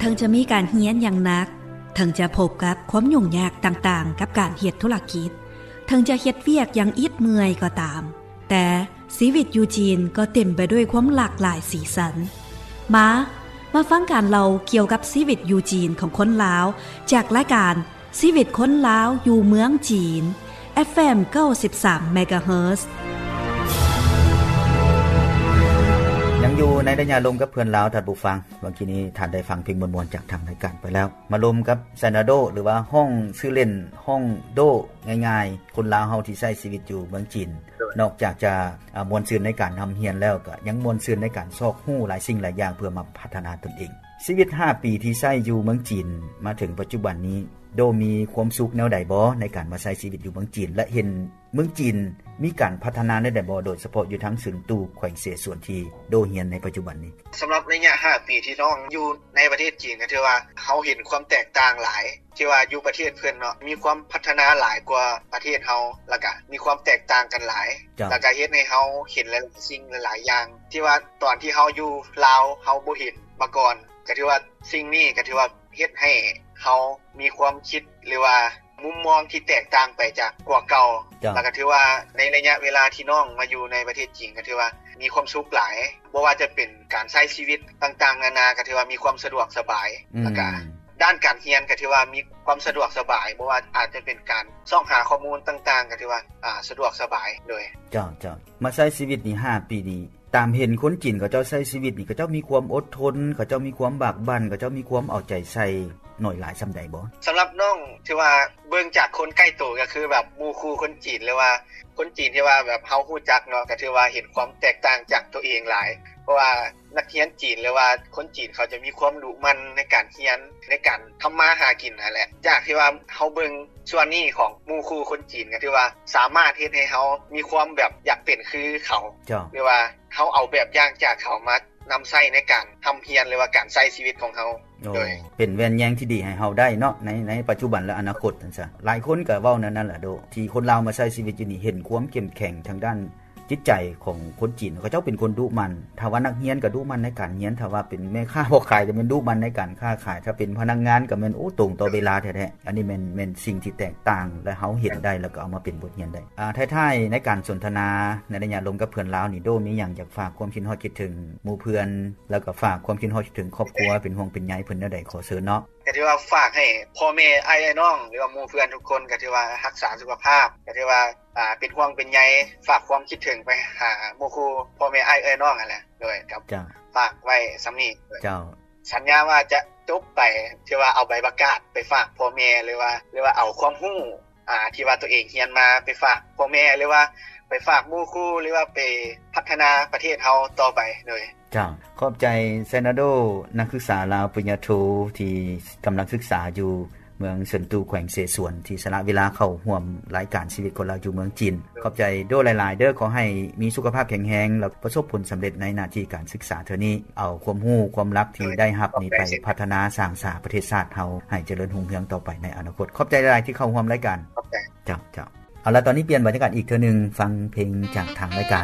ເຖິງຈະມີການຮຽນຢ່າງໜັກ, ເຖິງຈະພົບກັບຄວາມຫຍຸ້ງຍາກຕ່າງໆກັບການເຮັດທຸລະກິດ, ເຖິງຈະເຮັດວຽກຢ່າງອິດເມື່ອຍກໍຕາມ, ແຕ່ຊີວິດຢູ່ຈີນກໍເຕັມໄປດ້ວຍຄວາມຫຼາກຫຼາຍສີສັນ. ມາ, ມາຟັງການເລົ່າກ່ຽວກັບຊີວິດຢູ່ຈີນຂອງຄົນລາວ ຈາກລາຍການ ຊີວິດຄົນລາວຢູ່ເມືອງຈີນ ເອັຟເອັມ ເກົ້າສິບສາມ ເມກາເຮີດ. ຍັງຢູ່ໃນໄລຍະລົມກັບເພື່ອນລາວ ທ່ານຜູ້ຟັງ. ເມື່ອກີ້ນີ້ທ່ານໄດ້ຟັງເພງມ່ວນໆຈາກທາງລາຍການໄປແລ້ວ. ມາລົມກັບໄຊນາໂດ ຫຼືວ່າຮ້ອງຊື່ເລ່ນ ຮ້ອງໂດ ງ່າຍໆ ຄົນລາວເຮົາທີ່ໃຊ້ຊີວິດຢູ່ເມືອງຈີນ. ໂດຍ. ນອກຈາກຈະ ອາ ມ່ວນຊື່ນໃນການຮ່ຳຮຽນແລ້ວ ກໍຍັງມ່ວນຊື່ນໃນການຊອກຮູ້ຫຼາຍສິ່ງຫຼາຍຢ່າງເພື່ອມາພັດທະນາຕົນເອງ. ຊີວິດຫ້າປີທີ່ໃຊ້ຢູ່ເມືອງຈີນມາເຖິງປັດຈຸບັນນີ້ ໂດມີຄວາມສຸກແນວໃດບໍ່ໃນການມາໃຊ້ຊີວິດຢູ່ເມືອງຈີນ ແລະ ເຫັນເມືອງຈີນມີການພັດທະນາແນວໃດບໍ່ ໂດຍສະເພາະຢູ່ທາງເຊິນຕູແຂວງເສສວນທີ່ໂດຮຽນໃນປັດຈຸບັນນີ້? ສຳລັບໄລຍະຫ້າປີທີ່ນ້ອງຢູ່ໃນປະເທດຈີນ ກໍຖືວ່າເຮົາເຫັນຄວາມແຕກຕ່າງຫຼາຍ ທີ່ວ່າຢູ່ປະເທດເພິ່ນເນາະ ມີຄວາມພັດທະນາຫຼາຍກວ່າປະເທດເຮົາ ແລ້ວກະມີຄວາມແຕກຕ່າງກັນຫຼາຍ ເຈົ້າ ແລ້ວກະເຮັດໃຫ້ເຮົາເຫັນຫຼາຍໆສິ່ງຫຼາຍໆຢ່າງ ທີ່ວ່າຕອນທີ່ເຮົາຢູ່ລາວເຮົາບໍ່ເຫັນມາກ່ອນ ກໍຖືວ່າສິ່ງນີ້ກໍຖືວ່າເຮັດໃຫ້ເຮົາມີຄວາມຄິດ ຫຼືວ່າມຸມມອງທີ່ແຕກຕ່າງໄປຈາກກວ່າເກົ່າ ເຈົ້າ ແລ້ວກໍຖືວ່າໃນໄລຍະເວລາທີ່ນ້ອງມາຢູ່ໃນປະເທດຈີນ ກໍຖືວ່າມີຄວາມສຸກຫຼາຍ ບໍ່ວ່າຈະເປັນການໃຊ້ຊີວິດຕ່າງໆນານາ ກໍຖືວ່າມີຄວາມສະດວກສະບາຍ ອືມ ແລ້ວກະ ດ້ານການຮຽນກໍຖືວ່າມີຄວາມສະດວກສະບາຍ ບໍ່ວ່າອາດຈະເປັນການຊອກຫາຂໍ້ມູນຕ່າງໆ ກໍຖືວ່າ ອາ ສະດວກສະບາຍ. ໂດຍ ເຈົ້າ ເຈົ້າ ມາໃຊ້ຊີວິດນີ້ຫ້າປີນີ້ ຕາມເຫັນຄົນຈີນເຂົາເຈົ້າໃຊ້ຊີວິດນີ້ ເຂົາເຈົ້າມີຄວາມອົດທົນ ເຂົາເຈົ້າມີຄວາມບາກບັ່ນ ເຂົາເຈົ້າມີຄວາມເອົາໃຈໃສ່ໜ້ອຍຫຼາຍສ່ຳໃດບໍ່? ສຳລັບນ້ອງ ຖືວ່າເບິ່ງຈາກຄົນໃກ້ໂຕ ກໍຄືແບບໝູ່ຄູ່ຄົນຈີນ ຫຼືວ່າຄົນຈີນທີ່ວ່າແບບເຮົາຮູ້ຈັກເນາະ ກໍຖືວ່າເຫັນຄວາມແຕກຕ່າງຈາກຕົວເອງຫຼາຍ ເພາະວ່າ ນັກຮຽນຈີນ ຫຼືວ່າຄົນຈີນເຂົາຈະມີຄວາມດຸໝັ່ນໃນການຮຽນ ໃນການທຳມາຫາກິນຫັ້ນແຫຼະ. ຈາກທີ່ວ່າເຮົາເບິ່ງສ່ວນນີ້ຂອງໝູ່ຄູ່ຄົນຈີນ ກໍຖືວ່າສາມາດເຮັດໃຫ້ເຮົາມີຄວາມແບບຢາກເປັນຄືເຂົາ ເຈົ້າ ຫຼືວ່າເຮົາເອົາແບບຢ່າງຈາກເຂົາມານຳໃຊ້ໃນການຮ່ຳຮຽນ ຫຼືວ່າການໃຊ້ຊີວິດຂອງເຮົາ. ໂດຍ ໂອ້ ເປັນແວ່ນແຍງທີ່ດີໃຫ້ເຮົາໄດ້ເນາະ ໃນ ໃນປັດຈຸບັນ ແລະ ອະນາຄົດ ຈັ່ງຊັ້ນ. ຫຼາຍຄົນກໍເວົ້າແນວນັ້ນລະໂດ ທີ່ຄົນລາວມາໃຊ້ຊີວິດຢູ່ນີ້ ເຫັນຄວາມເຂັ້ມແຂງທາງດ້ານ ຈິດໃຈຂອງຄົນຈີນ ເຂົາເຈົ້າເປັນຄົນດຸໝັ່ນ ຖ້າວ່ານັກຮຽນກໍດຸໝັ່ນໃນການຮຽນ ຖ້າວ່າເປັນແມ່ຄ້າພໍ່ຂາຍກໍແມ່ນດຸໝັ່ນໃນການຄ້າຂາຍ ຖ້າເປັນພະນັກງານກໍແມ່ນ ໂອ້ ຕົງຕໍ່ເວລາແທ້ໆ. ອັນນີ້ແມ່ນ ແມ່ນສິ່ງທີ່ແຕກຕ່າງ ແລະ ເຮົາເຫັນໄດ້ ແລ້ວກໍເອົາມາເປັນບົດຮຽນໄດ້. ອາ ທ້າຍໆ ໃນການສົນທະນາໃນໄລຍະລົມກັບເພື່ອນລາວນີ້ ໂດມີຫຍັງຢາກຝາກຄວາມຄິດຮອດຄິດເຖິງໝູ່ເພື່ອນ ແລ້ວກໍຝາກຄວາມຄິດຮອດຄິດເຖິງຄອບຄົວ ເປັນຫ່ວງເປັນໃຍເພິ່ນແນວໃດ ຂໍເຊີນເນາະ. ກໍຖືວ່າຝາກໃຫ້ພໍ່ແມ່ອ້າຍເອື້ອຍນ້ອງ ຫຼືວ່າໝູ່ເພື່ອນທຸກຄົນ ກໍຖືວ່າຮັກສາສຸຂະພາບ ກໍຖືວ່າ ອ່າ ເປັນຫ່ວງເປັນໃຍ ຝາກຄວາມຄິດເຖິງໄປຫາໝູ່ຄູ່ພໍ່ແມ່ອ້າຍເອື້ອຍນ້ອງຫັ້ນແຫຼະ. ໂດຍ ກໍ ເຈົ້າ ຝາກໄວ້ສ່ຳນີ້. ເຈົ້າ ສັນຍາວ່າຈະຈົບໄປ ຖືວ່າເອົາໃບປະກາດໄປຝາກພໍ່ແມ່ ຫຼືວ່າ ຫຼືວ່າເອົາຄວາມຮູ້ ອ່າ ທີ່ວ່າຕົວເອງຮຽນມາໄປຝາກພໍ່ແມ່ ຫຼືວ່າໄປຝາກໝູ່ຄູ່ ຫຼືວ່າໄປພັດທະນາປະເທດເຮົາຕໍ່ໄປ. ໂດຍ ເຈົ້າ ຂອບໃຈ ໄຊນາໂດ ນັກສຶກສາລາວປະລິນຍາໂທ ທີ່ກຳລັງສຶກສາຢູ່ເມືອງເຊິນຕູ ແຂວງເສສວນ ທີ່ສະຫຼະເວລາເຂົ້າຮ່ວມລາຍການຊີວິດຄົນລາວຢູ່ເມືອງຈີນ. ຂອບໃຈໂດຫຼາຍໆເດີ ຂໍໃຫ້ມີສຸຂະພາບແຂງແຮງ ແລະ ປະສົບຜົນສຳເລັດໃນໜ້າທີ່ການສຶກສາເທື່ອນີ້ ເອົາຄວາມຮູ້ຄວາມລັບທີ່ໄດ້ຮັບນີ້ໄປພັດທະນາສ້າງສາປະເທດຊາດເຮົາໃຫ້ຈະເລີນຮຸ່ງເຮືອງຕໍ່ໄປໃນອະນາຄົດ. ຂອບໃຈຫຼາຍໆທີ່ເຂົ້າຮ່ວມລາຍການ. ຂອບໃຈ. ເຈົ້າ ເຈົ້າ. ເອົາລະ ຕອນນີ້ປ່ຽນບັນຍາກາດອີກເທື່ອໜຶ່ງ ຟັງເພງຈາກທາງລາຍການ